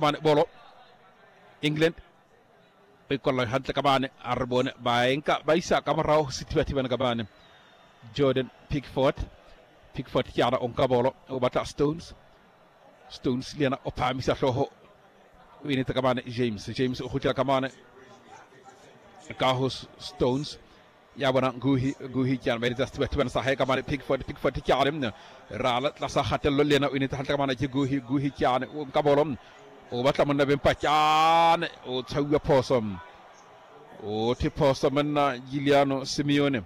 Mane bolo England ba ikolla hantle ka bane, a re bone ba enka ba isa ka morao sethibathibane ka bane. Jordan Pickford, Pickford ke ana o nka bolo, o batla Stones, Stones le yena o phahamisa hlooho, o enetse ka bane James, James o kgutlela ka mane ka ho Stones ya bona Nguhi, Nguhi ke ana ba eletsa sethibathibane sa hae ka mane Pickford, Pickford ke ane rala tlasa kgatello le yena o enetse hantle ka mane ke Guhi, Guhi ke ane o nka bolo, o batla monna beng Pachane, o tshwauwa phoso, o the phoso monna Giuliano Simeone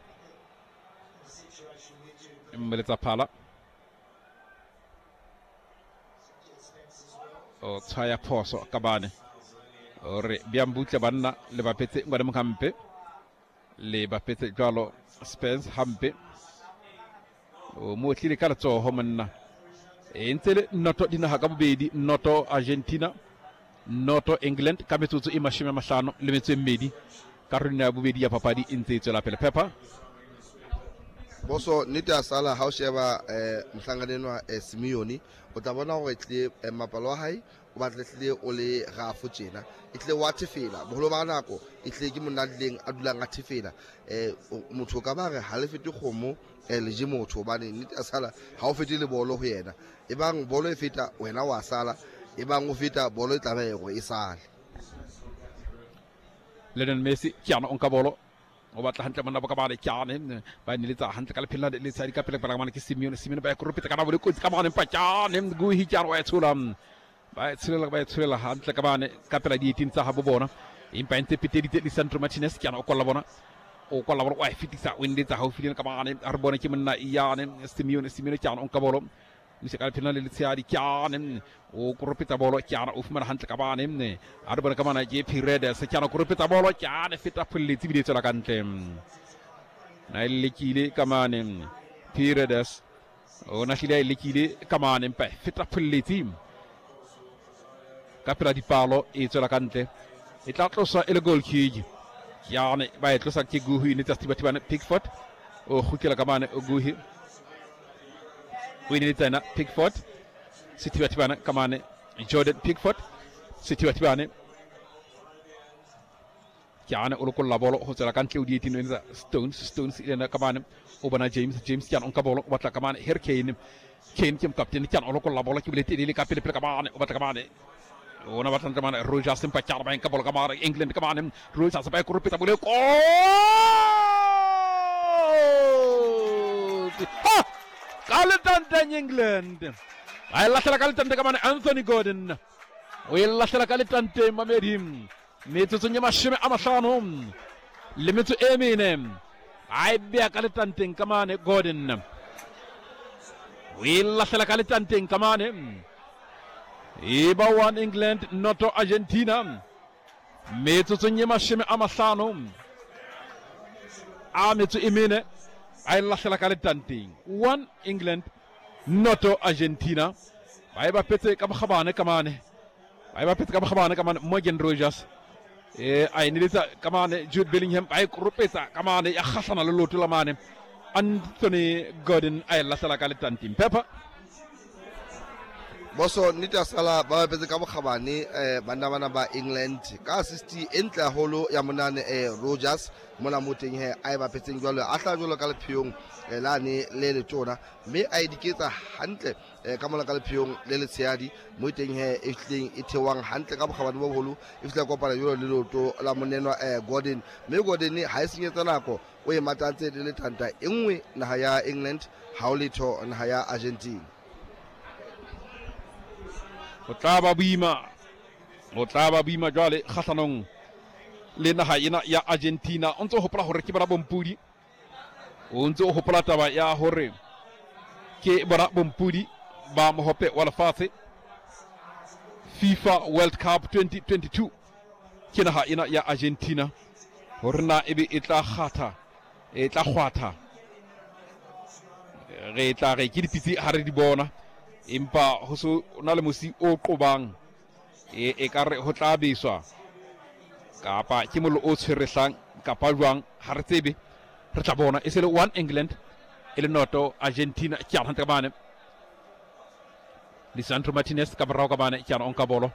mmeletsa phala, o tshwaya phoso ka bane, o re bjang butle banna le bapetse ngwane mokhampe le bapetse jwalo Spence hampe, o mo tlile ka letsoho monna. E ntse le noto dinaga ka bobedi, noto Argentina, noto England, ka metsotso e 58 karolong ya bobedi ya papadi e ntse e tswela pele. Pepper boso nnete a sala ha o sheba mohlankana enwa Simeone, o tla bona hore tlile mapalo wa hae o batle tlile o le rafo tjena, e tlile wa thefela boholo ba nako, e tlile ke monna a tlileng a dulang a thefela. Motho o ka ba re ha le fete kgomo le je motho, hobane nnete a sala ha o fete le bolo ho yena, e bang bolo e feta wena wa sala, e bang o feta bolo e tlameha hore e sale. Lionel Messi ke ana o nka bolo, o batla hantle monna boka bale ke ane ba neletsa hantle ka lephelo le tshadi ka pele pele mane ke Simeone, Simeone ba ya koropetsa ka nabo le kotsi ka mane Pachane, Guhi ke ana wa e tshola, ba e tsholela, ba e tsholela hantle ka bane ka pela di-18 tsa habo bona, empa e ntse peteditse Lisandro Martinez ke ana o kolla bona, o kolla bona, wa e fetisa, o neletsa haufi le ka mane, a re bone ke monna yane Simeone, Simeone ke ana o nka bolo, o ise ka lephelo le letshehadi ke ane o koropetsa bolo, ke ana o fumana hantle ka bane, a re bone ka mana ke Paredes, ke ana o koropetsa bolo, ke ane feta pholletsi ebile e tswela ka ntle, na e lekile ka mane Paredes, o na hlile a e lekile ka mane, empa e feta pholletsi ka pela dipalo, e tswela ka ntle, e tla tloswa e le goal kick. Yane ba e tlosa ke Guhi, ne tsa Sethibathibane Pickford o kgutlela ka mane, Guhi o ineletsa yena Pickford, Sethibathibane ka mane Jordan Pickford, Sethibathibane ke ane o lokolla bolo ho tswela ka ntle o dietino etsa Stones, Stones e lena ka mane o bona James, James ke ane o nka bolo o batla ka mane Harry Kane, Kane ke mokaptene ke ane o lokolla bolo ke bole telele ka pele pele ka mane o batla ka mane ona batla ntle mane Rogers, empa ke ane ba nka bolo ka mane England ka mane Rogers ba e koropetsa bole kotsi, ha ka letanteng England ba e lahlela ka letante ka mane Anthony Gordon o e lahlela ka letanteng mamedi metsotsong ya 54, a e bea ka letanteng ka mane Gordon o e lahlela ka letanteng ka mane, e ba 1 England noto Argentina metsotsong ye 54, a e lahlela ka letanteng 1 England noto Argentina, ba e bapetse ka bokgabane ka mane, ba e bapetse ka bokgabane ka mane Morgan Rogers a e neletsa ka mane Jude Bellingham, ba e koropetsa ka mane ya kgahlana le loto la mane Anthony Gordon a e lahlela ka letanteng. Pepper boso nnete a sala ba bapetse ka bokgabane banna bana ba England ka assist e ntle haholo ya monane Rogers mona mo teng he a e bapetseng jwalo a hla jwalo ka lepheong lane le letona, mme a e diketsa hantle ka mona ka lepheong le letshehadi mo teng he e fihlileng e theohang hantle ka bokgabane bo boholo, e fihla kopana jwalo le leoto la monenwa Gordon, mme Gordon ha e senyetsa nako o e matantse le letanta e nngwe naha ya England ha o letho naha ya Argentina. Ho tla ba boima, ho tla ba boima jwale kgahlanong le naha ena ya Argentina. O ntse o hopola hore ke bona bompudi, o ntse o hopola taba ya hore ke bona bompudi ba mohope wa lefatshe FIFA World Cup 2022 ke naha ena ya Argentina, hore na ebe e tla kgatha, e tla kgwatha, re tla re ke dipitse ha re di bona, empa ho so na le mosi o qobang e ka re ho tla beswa kapa ke mollo o tshwerehlang kapa jwang, ha re tsebe, re tla bona. E se le 1 England e le noto Argentina ke ana hantle ka mane Lisandro Martinez ka morao ka mane ke ana o nka bolo